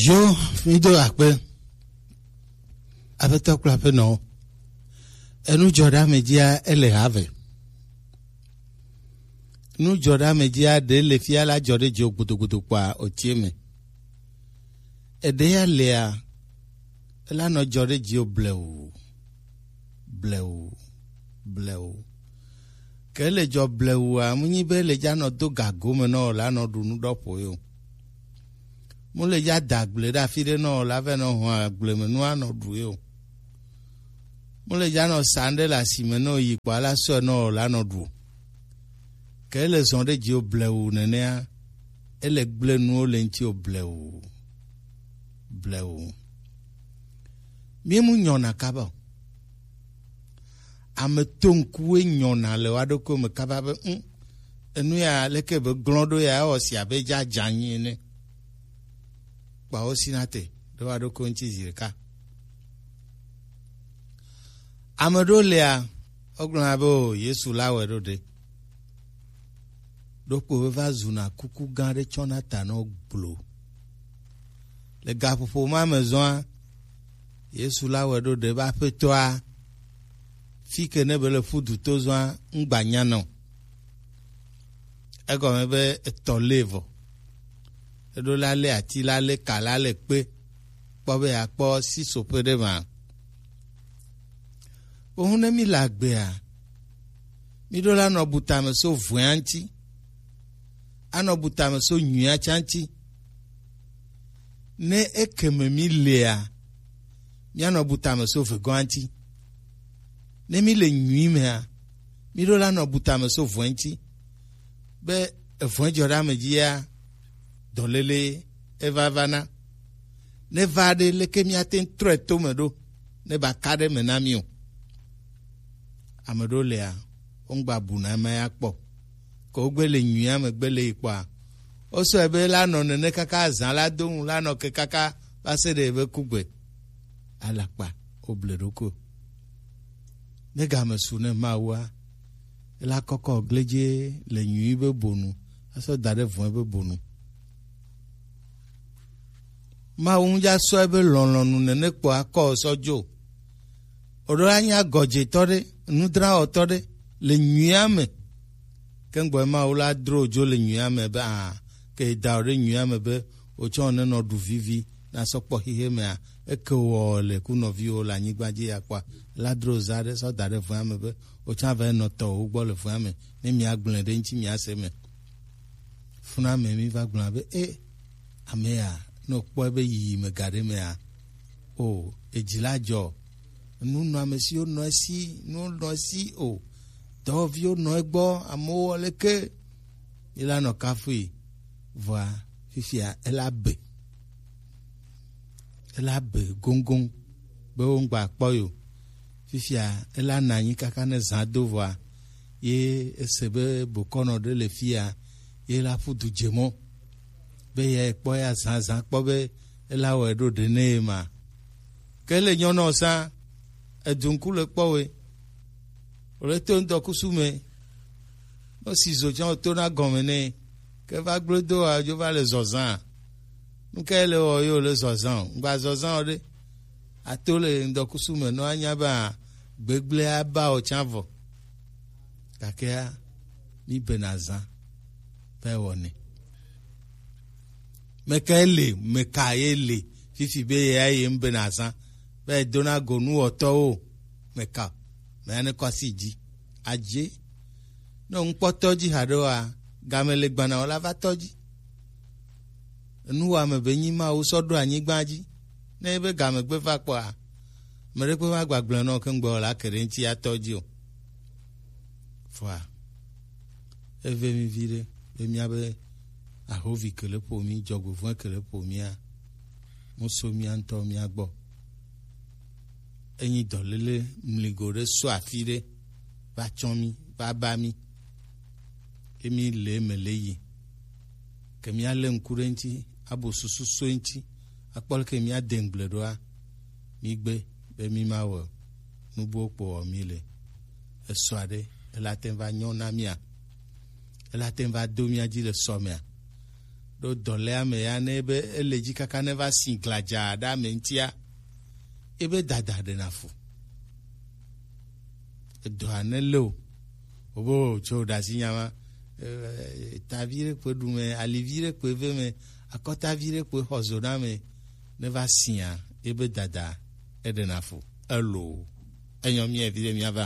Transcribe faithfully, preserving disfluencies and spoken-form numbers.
Yo, mi do akpe. Aƒetɔ kple aƒenɔwo. Enu dzɔ ɖe ame dzia, ele ha ve. Nu dzɔ ɖe ame dzia, ɖe le fia la dzɔ ɖe dziwò gbodogodo kpɔa, otie me. Eɖe ya lea, ela nɔ dzɔ ɖe dziwò blewu, blewu, blewu. Ke le dzɔ blewua, mu nyi be le dza nɔ do gago me nɔ o, la nɔ ɖu nu ɖɔ ƒo yo. Mu le dza da gble ɖe afi ɖe nɔ o, la vɛ nɔ hɔn agble me nu anɔ ɖu yo. Mu le dza nɔ sa ŋɖe le asime nɔ yi kpɔ ala sɔe nɔ o, la nɔ ɖu. Ke ele zɔn ɖe dziwò blewu nenea, ele gble nuwo le ŋutiwò blewu, blewu. Mi mu nyɔna kaba o. Ame to ŋkuwoe nyɔna le wa ɖokuiwo me kaba be, "Ŋ, enu ya leke be glɔ̃ ɖo ya, ewɔ si abe dza dza anyi ene." Kpawo sina te ɖe wa ɖokuiwo ŋuti zi ɖeka. Ame ɖewo lia, wogblɔna be, "O, Yesu la wɔe ɖo ɖe." Ɖokpo be va zuna kuku gã ɖe tsɔna ta nɔ gblo. Le gaƒoƒo ma me zɔa, Yesu la wɔe ɖo ɖe be aƒetɔa, fi ke ne be le ƒu du to zɔa, ŋgba nya nɔ. Egɔme be etɔ lé vɔ. Eɖo la lé ati, la lé ka, la lé kpe. Kpɔ be yeakpɔ sisoƒe ɖe ma. Wohu ne mi le agbea, mi ɖo la nɔ bu tame so vɔ̃ea ŋuti. Anɔ bu tame so nyuia tsa ŋuti. Ne ekeme mi lea, mianɔ bu tame so vegɔ̃a ŋuti. Ne mi le nyui mea, mi ɖo la nɔ bu tame so vɔ̃e ŋuti. Be evɔ̃e dzɔ ɖe ame dzia, dɔléle eva va na. Ne va ɖe, leke miate ŋu trɔe to me ɖo, ne ba ka ɖe me na mi o. Ame ɖewo lea, wongba bu na ema ya kpɔ. Ke wogbe le nyuia me gbe le yi kpɔa, wosɔe be la nɔ nene kaka azã la do ŋu, la nɔ ke kaka va se ɖe ebe kugbe. Alakpa, woble ɖokui. Ne game su ne Mawua, ela kɔkɔ gledze le nyui be bonu, asɔ da ɖe vɔ̃e be bonu. Mawu ŋdza sɔ ebe lɔlɔ̃nu nene kpɔ akɔ sɔ dzo. Oɖo la nya gɔdzetɔ ɖe, nudrawɔtɔ ɖe le nyuia me. Ke ŋgbɔ Mawu la dro dzo le nyuia me be a, ke da o ɖe nyuia me be otsɔ ne nɔ ɖu vivi na sɔ kpɔ xixe mea, eke wɔ le ku nɔviwo le anyigba dzi ya kpɔa, la dro za ɖe sɔ da ɖe vɔ̃a me be otsɔ va nɔ tɔ wo gbɔ le vɔ̃a me, ne mia gblẽ ɖe ŋuti mia se me. Funa me mi va gblɔ be, e, ame ya, ne wokpɔ ebe yiyi me ga ɖe mea, o, edzi la dzɔ. Nu nɔ ame siwo nɔ esi, nu nɔ esi o. Dɔwɔviwo nɔ egbɔ, amewo wɔ leke. Ye la nɔ kafui, vɔa, fifia, ela be. Ela be goŋgoŋ, be wo ŋgba kpɔ yo. Fifia, ela nɔ anyi kaka ne zã do vɔa, ye ese be bokɔnɔ ɖe le fia, ye la ƒu du dze mɔ. Be ye kpɔ ya zã, zã kpɔ be ela wɔe ɖo ɖe ne ye ma. Ke le nyɔnɔ sa, edu ŋku le kpɔ we. Wòle to ŋdɔkusu me. No si zo tsã wòto na gɔme nɛ. Ke va gblẽ do wa, dzo va le zɔzã. Nu kae le wɔ ye wòle zɔzã o? Ŋgba zɔzã o ɖe. Ato le ŋdɔkusu me, no anya be a, gbegblẽ aba o tsã vɔ. Gakea, mi bena zã. Be wɔnɛ. Meka ye le, meka ye le, fifi be ye ya ye ŋbe na zã, be dona go nuwɔtɔwo, meka, me ya ne kɔ asi dzi. Adze, ne ŋkpɔtɔ dzi haɖe wa, game le gbana wala va tɔ dzi. Nuwɔame be nyi Mawu sɔ ɖo anyigba dzi, ne ebe game gbe va kpɔa, me ɖe kpe va gbagblẽ nɔ ke ŋgbe wala ke ɖe ŋuti atɔ dzi o. Vɔa, eve mi viɖe, be míabe ahovi ke le ƒo mí, dzɔgbevɔ̃e ke le ƒo mía, mu so mía ŋutɔ mía gbɔ. Enyi dɔléle mligo ɖe so afi ɖe, va tsɔ mí, va ba mí. Emi le eme le yi. Ke míalé ŋku ɖe eŋuti, abo susu so eŋuti, akpɔ leke míade ŋugble ɖoa, mígbe be mímawɔ nu buwo kpo wɔ míle. Esɔ aɖe, ela te ŋu va nyɔ na mía? Ela te ŋu va do mía dzi le sɔ mea? Ɖo dɔ lé ame ya ne be ele dzi kaka ne va si gladza ɖe ame ŋutia, ebe dada ɖena fu. Edɔa ne le o, wobe o tso ɖasi nya ma, eh, tavi ɖe kpe ɖu me, alivi ɖe kpe ve me, akɔtavi ɖe kpe xɔ zo na me, ne va sia, ebe dada eɖena fu. Elo, enyɔ mia vi ɖe mia va.